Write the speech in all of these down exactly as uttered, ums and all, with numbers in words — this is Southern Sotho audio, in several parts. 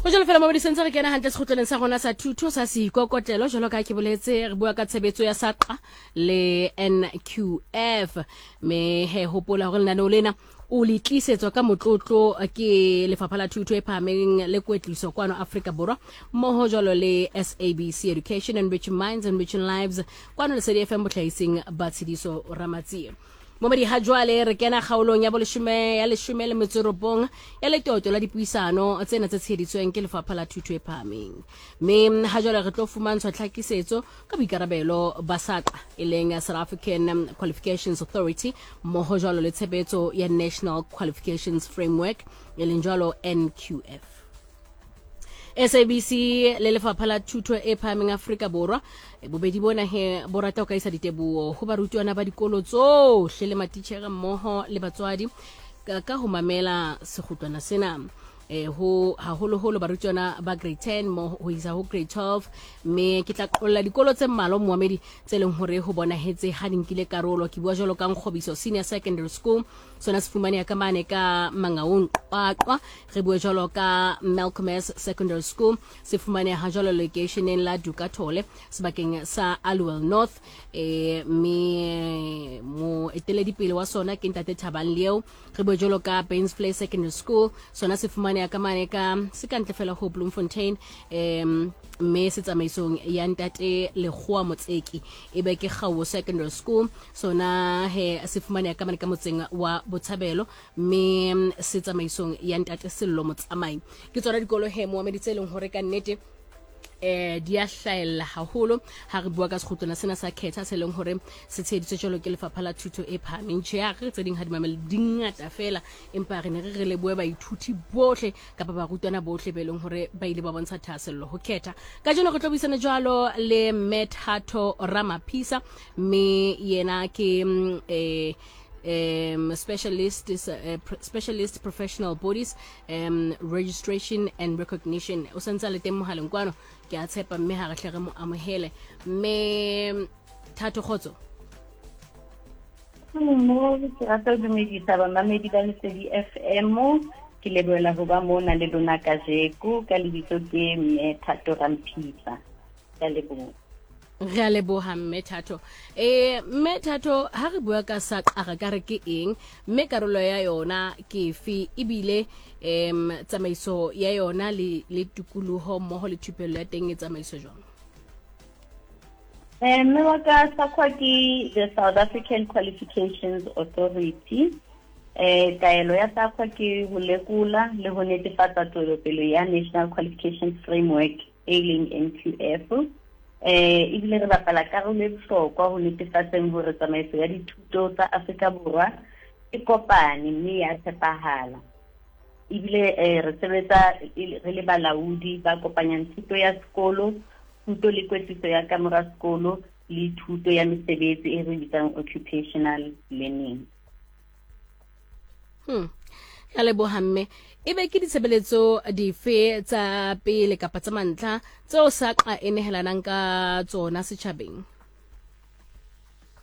Ho jwalo fela mabedi sentse re kena hantle sekgutlwaneng sa rona sa thuto sa seikokotlelo. Jwalo ka ha ke boletse, re bua ka tshebetso ya SAQA le N Q F. Mme he hopola hore lenaneo lena o le tlisetswa ka motlotlo ke Lefapha la Thuto e Phahameng le Kwetliso kwano Afrika Borwa, mmoho jwalo le S A B C Education, enriching minds, enriching lives, kwano Lesedi F M, botlhahising ba Tshidiso Ramatsie. Momedi, ha jwale re kena kgaolong ya boleshome ya leshome le metso e robong ya letoto la dipuisano tsena tse tsheheditsweng ke Lefapha la Thuto e Phahameng. Mme ha jwale re tlo fumantshwa tlhakisetso ka boikarabelo ba SAQA, e leng South African Qualifications Authority, mmoho jwalo le tshebetso ya National Qualifications Framework, e leng jwalo N Q F. S A B C le Lefapha la Thuto e Phahameng Afrika Borwa e bobedi bona he bo rata ho ka isa diteboho ho barutwana ba dikolo tsohle le matitjhere mmoho le batswadi ka, ka ho mamela sekgutlwana sena, eh ho haholoholo barutwana ba grade ten mo ho isa ho grade twelve. Mme ke tla qolla dikolo tse mmalwa, moamedi, tse leng hore ho bonahetse ha di nkile karolo. Ke bua jwalo ka Nkgobiso Senior Secondary School, sona se fumaneha ka mane ka Mangaung, Qwaqwa. Re bue jwalo ka Malcolm S Secondary School, se fumaneha jwalo lokeisheneng la Dukathole, sebakeng sa Aliwal North, eh mme moeteledipele wa sona ke ntate Thabang Leo. Re bue jwalo ka Bainsvlei Secondary School, sona se fumaneha ka mane ka se ka ntle fela ho Bloemfontein, em mme se tsamaisong ya ntate Lekgowa Motseki. Ebe ke Kgawo Secondary School, sona he se fumaneha ka mane ka motseng wa Botshabelo, mme se tsamaisong ya ntate Sello Motsamai. Ke tsona dikolo he, moamedi, tse leng hore ka nnete eh di a hlahella haholo ha re bua ka sekgutlwana sena sa khetha se leng hore se tsheheditswe jwalo ke Lefapha la Thuto e Phahameng. Tjhe, ha re tse ding ha di mamele, di ngata fela, empa re ne re re lebohe baithuti bohle kapa barutwana bohle be leng hore ba ile ba bontsha thahasello ho khetha. Kajeno re tlo buisana jwalo le mme Thato Ramaphisa, mme yena ke mm, eh um, specialist is, uh, pr- specialist professional bodies um, registration and recognition. O santse a le teng mohaleng kwano, ke a tshepa, mme ha re hle re mo amohele. Mme Thato, kgotso. Mo ke rata ho dumedisa bamamedi ba Lesedi F M. Ke lebohela ho ba mona le lona kajeko. Ka lebitso ke mme Thato Ramphisa. Ke a leboha. Re a leboha, mme Thato. eh mme Thato, ha re bua ka SAQA, re ka re ke eng, mme karolo ya yona ke efe, ebile em tsamaiso ya yona le le tikoloho mmoho le thupello ya teng e tsamaiso jwang? Eh mme wa ka, SAQA ke the South African Qualifications Authority. Eh taelo ya SAQA ke ho lekola le ho netefatsa tswelopele ya National Qualifications Framework, e leng N Q F. Eh ebile re bapala karolo e bohlokwa ho netefatseng hore tsamaiso ya dithuto tsa Afrika Borwa e kopane mme ya tshepahala. Ebile eh re sebetsa re le balaodi ba kopanyang thuto ya sekolo, thuto le kwetliso ya kamora sekolo le thuto ya mesebetsi e re bitsang occupational learning. Hmm. Ya leboha, mme. Ebe ke ditshebeletso dife tsa pele kapa tsa mantlha tseo SAQA e nehelanang ka tsona setjhabeng?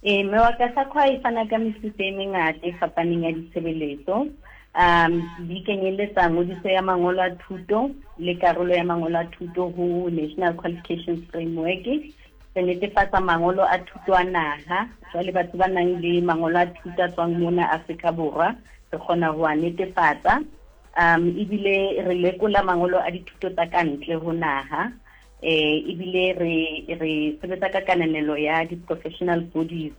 Eh mme wa ka, SAQA e fana ka mefuta e mengata e fapaneng ya ditshebeletso. Um di kenyeletsa ngodiso ya mangolo a thuto le karolo ya mangolo a thuto ho National Qualifications Framework. Re netefatsa mangolo a thuto a naha. Jwale batho ba nang le mangolo a thuto a tswang mona Afrika Borwa, re kgona ho a netefatsa. Um ebile re lekola mangolo a dithuto tsa kantle ho naha. Eh ebile re re sebetsa ka kananelo ya di-professional bodies.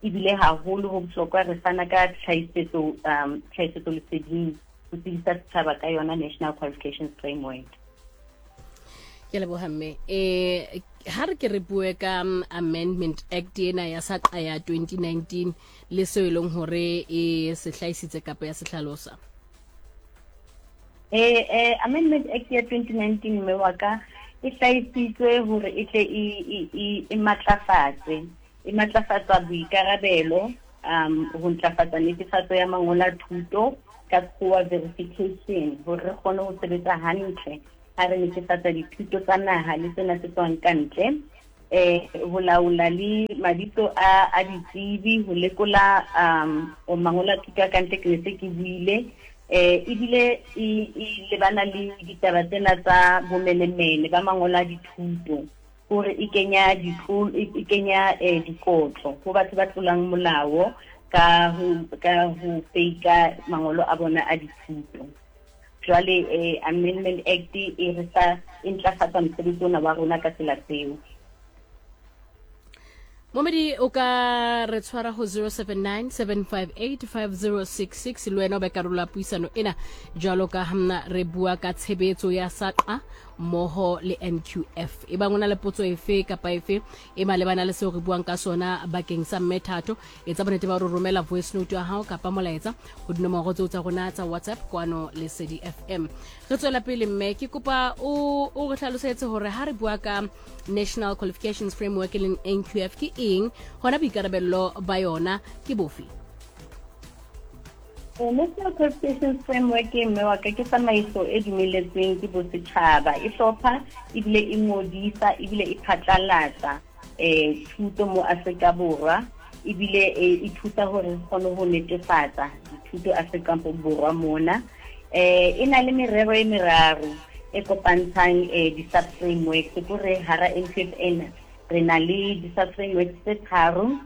Ebile haholo ho bohlokwa, re fana ka tlhahisetso um tlhahisetso leseding ho tsebisa setjhaba ka yona National Qualifications Framework. Ke leboha, mme. Eh ha re ke re bue ka um, Amendment Act ena ya SAQA ya twenty nineteen le seo e leng hore e se hlahisitse kapa ya se hlalosa. Eh eh Amendment Act ya twenty nineteen, mme wa ka, e hlahisitswe hore e tle e e e matlafatse e matlafatsa boikarabelo um ho ntlafatsa netefatso ya mangolo a thuto, ka sekgowa verification, hore re kgone ho sebetsa hantle ha re netefatsa dithuto tsa naha le tsena tse tswang ka ntle, eh ho laola le mabitso a a ditsebi, ho lekola um mangolo a thuto a ka ntle, ke ne se ke buile. Eh ebile e e lebana le ditaba tsena tsa bomenemene ba mangolo a dithuto, hore e kenya ditlolo, e kenya eh dikotlo ho batho ba tlolang molao ka ho ka ho fake mangolo a bona a dithuto. Jwale eh Amendment Act e re sa e ntlafatsa mosebetsi ona wa rona ka tsela tseo. Momedi o ka re tshwara ho zero seven nine seven five eight five zero six six le wena o be karolo ya puisano ena jwalo ka ha mna re bua ka tshebetso ya SAQA mmoho le N Q F. E bang o na le potso efe kapa efe e malebana le seo re buang ka sona bakeng sa Mme Thato, etsa bonnete ba hore romela voice note ya hao kapa molaetsa ho dinomoro tseo tsa rona tsa WhatsApp kwano Lesedi F M. Re tswela pele mme ke kopa o o re hlalosetse hore ha re bua ka National Qualifications Framework e leng N Q F ke eng, hona boikarabello ba yona ke bofe? National Qualifications Framework e mme wa ka ke tsamaiso e dumeletsweng ke bosetjhaba, e hlopha ebile e ngodisa ebile e phatlalatsa eh thuto mo Afrika Borwa, ebile e thusa hore re kgone ho netefatsa dithuto Afrika Borwa mona. Eh e na le merero e meraro e kopantshang eh di-sub-frameworks, ke hore hara N Q F ena re na le di-sub-frameworks tse tharo,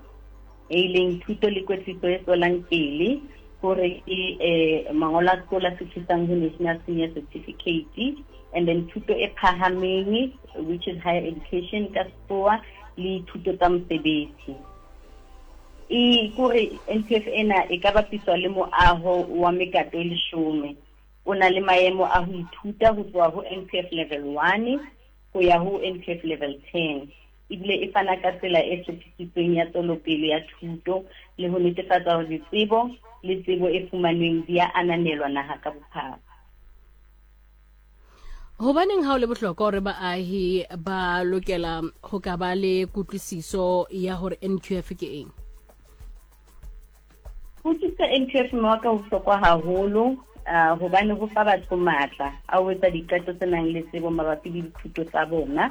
e leng thuto le kwetliso e tswelang pele, hore ke eh mangolo a sekolo a fihlisang ho National Senior Certificate, and then thuto e phahameng which is higher education ka sekgowa, le thuto tsa mosebetsi. E kore N Q F ena e ka bapiswa le moaho wa mekato e leshome, o na le maemo a ho ithuta ho tloha ho N Q F level one ho ya ho N Q F level ten. Ebile e fana ka tsela e hlophisitsweng ya tswelopele ya thuto le ho netefatsa hore ditsebo le tsebo e fumanweng di a ananelwa naha ka bophara. Hobaneng ha o le bohlokwa hore baahi ba lokela ho ka ba le kutlwisiso ya hore N Q F ke eng? Kutlwisiso N Q F mme wa ka ho bohlokwa haholo, uh, hobane ho fa batho matla a ho etsa diqeto tse nang le tsebo mabapi le dithuto tsa bona,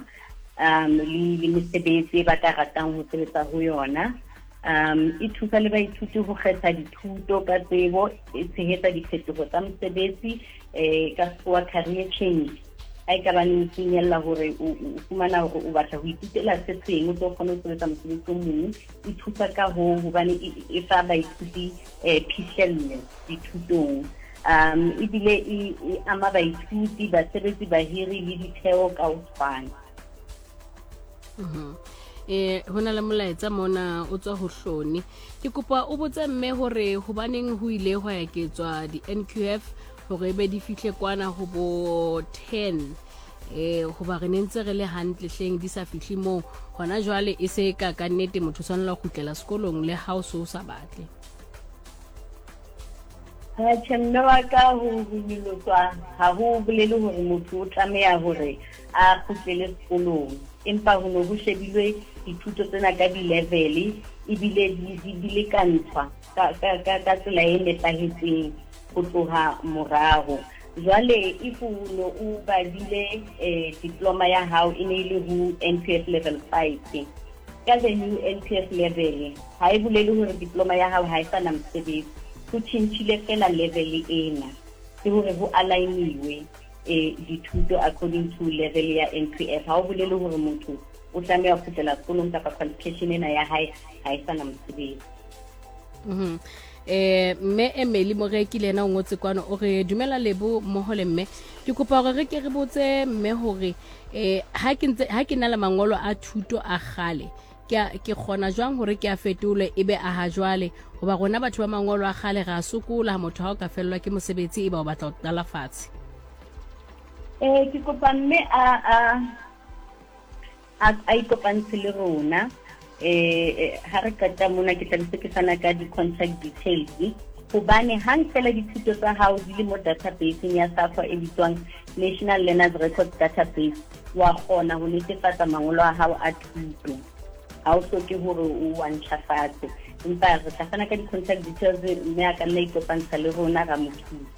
um le le mesebetsi e ba ka ratang ho sebetsa ho yona. Um e thusa le baithuti ho kgetha dithuto ka tsebo, e tshehetsa diphetoho tsa mosebetsi, eh ka sekgowa career change. Ha e ka ba ne o finyella hore o fumana hore o batla ho ithutela se seng, o tlo kgona ho sebetsa mosebetsi o mong, e thusa ka hoo hobane e fa baithuti eh phihlello dithutong. Um ebile e ama baithuti, basebetsi, bahiri le ditheo ka ho tshwana. Mhm. Eh hona le molaetsa mona o tswa ho Hloni. Ke kopa o botse mme hore hobaneng ho ile hwa eketswa di N Q F hore be di fihle kwana ho bo ten, eh hoba re ne ntse re le hantle hleng di sa fihle moo. Hona jwale e se ka ka nnete motho o tshwanela ho kgutlela sekolong le ha o so sa batle. Tjhe, mme wa ka, ho nyoloswa ha ho bolele hore motho o tlameha hore a kgutlele sekolong, empa ho no ho shebilwe dithuto tsena ka di-level ebile di di lekantshwa ka ka ka tsela e nepahetseng ho tloha moraho. Jwale if o no o badile eh diploma ya hao e ne le ho N Q F level five, ka the new N Q F level ha e bolele hore diploma ya hao ha e sa na mosebetsi, ho tjhentjhile fela level ena, ke hore ho aligniwe eh dithuto according to level ya N Q F. Ha o bolele hore motho o tlameha ho kgutlela sekolong kapa qualification ena ya hae ha e sa na mosebetsi. Mhm. Eh mme Emily Moreki le yena o ngotse kwano, o re dumela Lebo mmoho le mme, ke kopa hore re ke re botse mme hore eh ha ke ntse ha ke na le mangolo a thuto a kgale, ke ke kgona jwang hore ke a fetole ebe a ha jwale, hoba rona batho ba mangolo a kgale re a sokola ha motho ha o ka fellwa ke mosebetsi e ba o batla ho qala fatshe. Eh ke kopa mme a a a a ikopantshe le rona. Eh ha re qeta mona ke tla be ke fana ka di-contact details, hobane hang fela dithuto tsa hao di le mo database-eng ya SAQA e bitswang National Learners Records Database, wa kgona ho netefatsa mangolo a hao a thuto. Ha o hloke hore o wa ntjhafatse, empa re tla fana ka di-contact details mme a ka nna ikopantsha le rona ra mo thusa.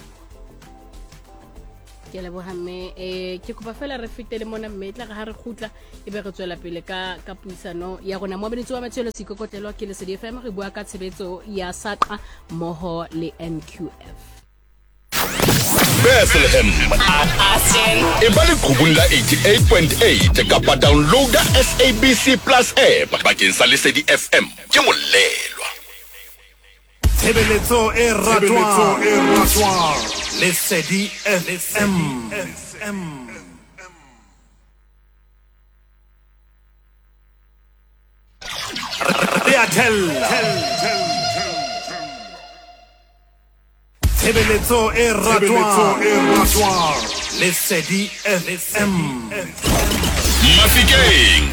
Ke leboha mme, eh ke kopa fela re fetele mona mme tla re ha re kgutla e be re tswela pele ka ka puisano ya rona. Moabeditsi wa Matshelo Seikokotlelo ke Lesedi F M, re bua ka tshebetso ya SAQA mmoho le N Q F. Bethlehem. E ba leqhubung la eighty-eight point eight kapa downloada S A B C Plus app bakeng sa Lesedi F M. Ke molelwa. Tshebeletso e ratwang. Lesedi F M. Re a thella. Tshebeletso e ratwang. Lesedi F M. Mafikeng.